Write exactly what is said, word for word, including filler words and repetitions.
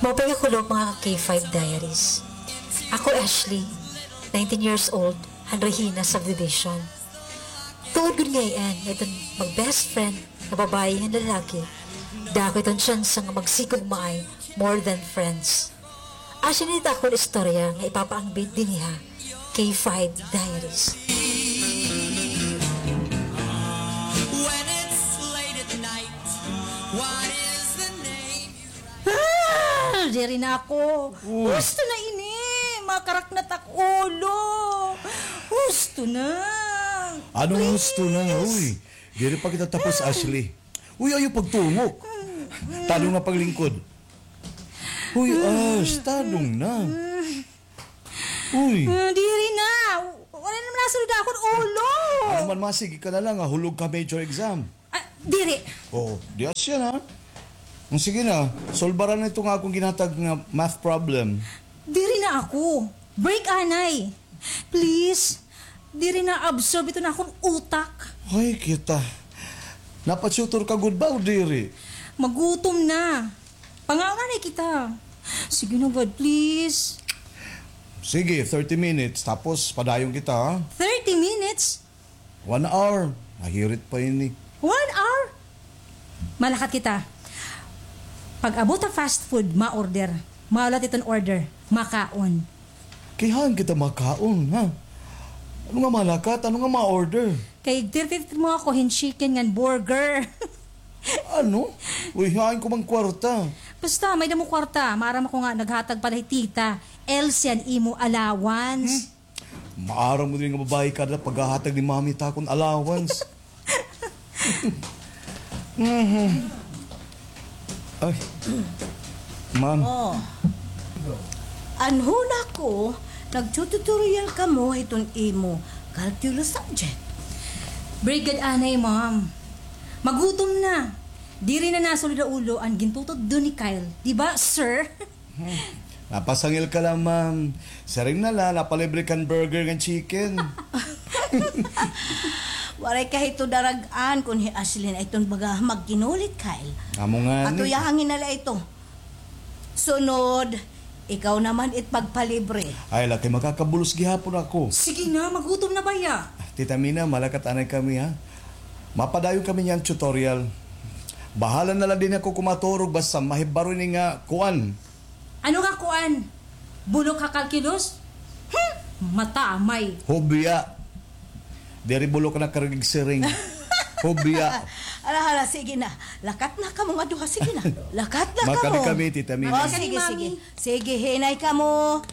Maupay nga kulop, mga K five Diaries. Ako Ashley, nineteen years old, han Regina Subdivision. Tuod gud ngay-an nga iton mag-best friend nga babayi ngan lalaki, dako iton tsansa nga magsigugmaay more than friends. Asya ini it akon istorya nga ipapaambit dinhi ha K five Diaries. When it's late at night, what is the name you Ah! Diri na ako. Uy. Husto na ini. Makaraknat ak ulo. Husto na. Anong husto na? Please. Uy, diri pa kita tapos, Ashley. Uy, ayaw pagtungok. Tadong na paglingkod. Uy, Ash, tadong na. Uy. Ah, diri na. Wala naman nasulod akon ulo. Ano man, ma, sige ka na lang, ah. Hulog ka major exam. Ah, diri. Oo, di asya na. Sige na, solbaran na ito nga akong ginhatag nga math problem. Diri na ako. Break anay. Please. Diri na absorb ito na akong utak. Ay, kita. Napa-tutor ka gud ba o diri? Magutom na. Pangaon anay kita. Sige na, God, please. Sige, thirty minutes. Tapos, padayon kita, ha? Thirty minutes? One hour. Nahirit pa ini. One hour? Malakat kita. Pag-abot ha fast food, ma-order. Mahulat iton order. Makaon. Kay haan kita makaon, ha? Ano nga malakat? Ano nga ma-order? Kay tirtirtir mo ako hin chicken ngan burger. Ano? Uy, hain ko man kwarta. Basta, may-ada mo kwarta. Maaram ako nga naghatag pala hi Tita Elsie an imo allowance. Hmm? Maaram mo diri nga babayi kada paghahatag ni Mami ta akon allowance. Mhm. Ay. Ma'am. Oh. An huna ko, nagtututorial kamo hiton imo calculus subject. Very good anay, ma'am. Magutom na. Diri na nasulod ha ulo an gintutudlo ni Kyle. Di ba, sir? Hmm. Napasangil ka la, ma'am. Siring na la, napalibre kan burger ngan chicken. Waray ka hito darag-an kon hi Ashley na iton baga magkinulit, Kyle. Amo ngani. Atuyahan na la ito. Sunod, ikaw naman it pagpalibre. Ay, laki, makakabulos gihapon ako. Sige na, magutom na baya. Tita Mina, malakat anay kami, ha? Mapadayon kami niyan tutorial. Bahala na la dinhi ako kumaturog, basta mahibaro ini nga kuan. Ano nga kuan? Bulok ha calculus? Hmm, matamay. Hubya. Diri bulok na karigig siring. Hubya. Hala, hala, sige na. Lakat na kamo nga duha, sige na. Lakat na kamo. Makami kami, Tita Mina. Oh, sige, sige. Sige, hinay kamo.